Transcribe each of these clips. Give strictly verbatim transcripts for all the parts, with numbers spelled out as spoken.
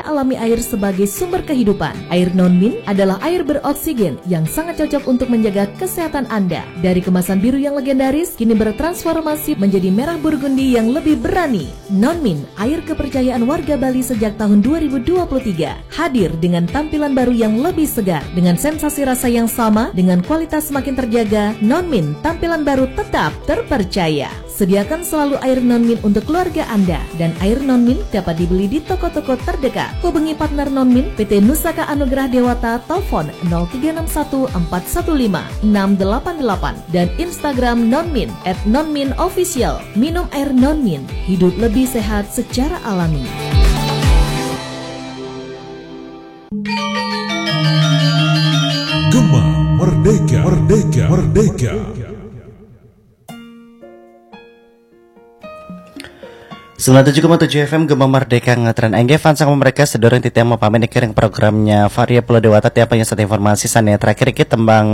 alami air sebagai sumber kehidupan. Air Nonmin adalah air beroksigen yang sangat cocok untuk menjaga kesehatan Anda. Dari kemasan biru yang legendaris, kini bertransformasi menjadi merah burgundi yang lebih berani. Nonmin, air kepercayaan warga Bali sejak tahun dua ribu dua puluh tiga, hadir dengan tampilan baru yang lebih segar, dengan sensasi rasa yang sama, dengan kualitas semakin terjaga. Nonmin, tampilan baru tetap terpercaya. Sediakan selalu air Nonmin untuk keluarga Anda, dan air Nonmin dapat dibeli di toko-toko terdekat. Hubungi partner Nonmin, P T Nusaka Anugerah Dewata, telepon nol tiga enam satu empat satu lima enam delapan delapan, dan Instagram Nonmin at Nonmin Official. Minum air Nonmin, hidup lebih sehat secara alami. Gema Merdeka, Merdeka, Merdeka. Sembilan tujuh koma tujuh F M Gema Merdeka ngetren. Engge fans sama mereka sedurung titiang mau pamit niki ring programnya Varia Pulau Dewata tiang pengen satu informasi sane terakhir iki tembang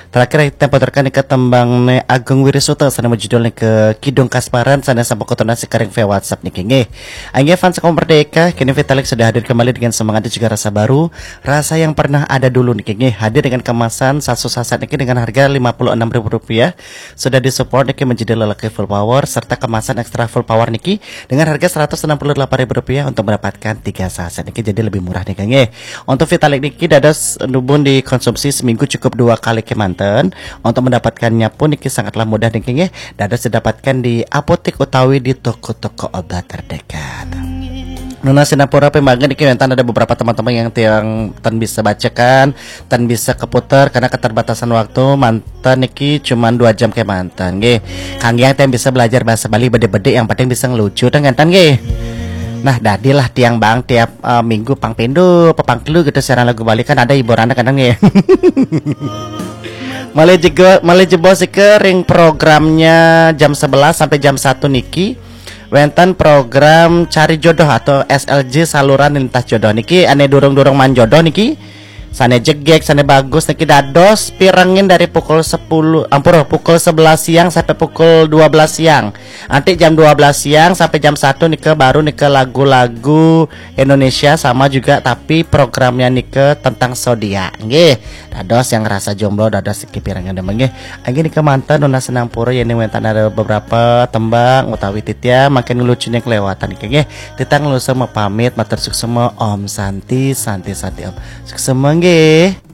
terakhir tempo terkan ke tembang ne Agung Wirisuta sane judul ke Kidung Kasparan sane sampun kotonasi karing via WhatsApp niki nggih. Engge fans sama Merdeka kini Vitalik sudah hadir kembali dengan semangat dan juga rasa baru, rasa yang pernah ada dulu niki nggih, hadir dengan kemasan sasu saset niki dengan harga lima puluh enam ribu rupiah. Sudah disupport niki menjadi lelaki full power serta kemasan extra full power niki dengan harga seratus enam puluh delapan ribu rupiah untuk mendapatkan tiga saset niki jadi lebih murah niki nggih. Untuk Vitalik niki dados nubun dikonsumsi seminggu cukup dua kali kemanten. Untuk mendapatkannya pun niki sangatlah mudah niki nggih. Dados didapatkan di apotek utawi di toko-toko obat terdekat. Nuna Sinapura pembangun niki mentan ada beberapa teman-teman yang tiang ten bisa bacakan, ten bisa keputar karena keterbatasan waktu. Mantan niki cuman dua jam ke mantan nggih. Kangge yang ten bisa belajar bahasa Bali bede-bede yang penting bisa ngelucu ten nggih. Nah, dadilah tiang bang tiap uh, minggu pang pindu, pepang telu gitu siaran lagu Bali kan ada hiburan kan nggih. Malih jebos sike ring programnya jam sebelas sampai jam satu niki. Wenten program cari jodoh atau S L J saluran lintas jodoh niki ane durung-durung man jodoh niki. Sane jegek, sane bagus niki dados pirengin dari pukul sepuluh ampura pukul sebelas siang sampai pukul dua belas siang. Nanti jam dua belas siang sampai jam satu nike baru nike lagu-lagu Indonesia sama juga tapi programnya nike tentang zodiak. Nggih. Dados yang ngerasa jomblo dados iki pirengin demen nggih. Angge nike manten nunas senang pura yen wenten ada beberapa tembang utawi titiang makin ngelucunya kelewatan niki nggih. Titiang ngelucu mau pamit matur suksema Om Santi Santi Santi Om. Suksema nggih.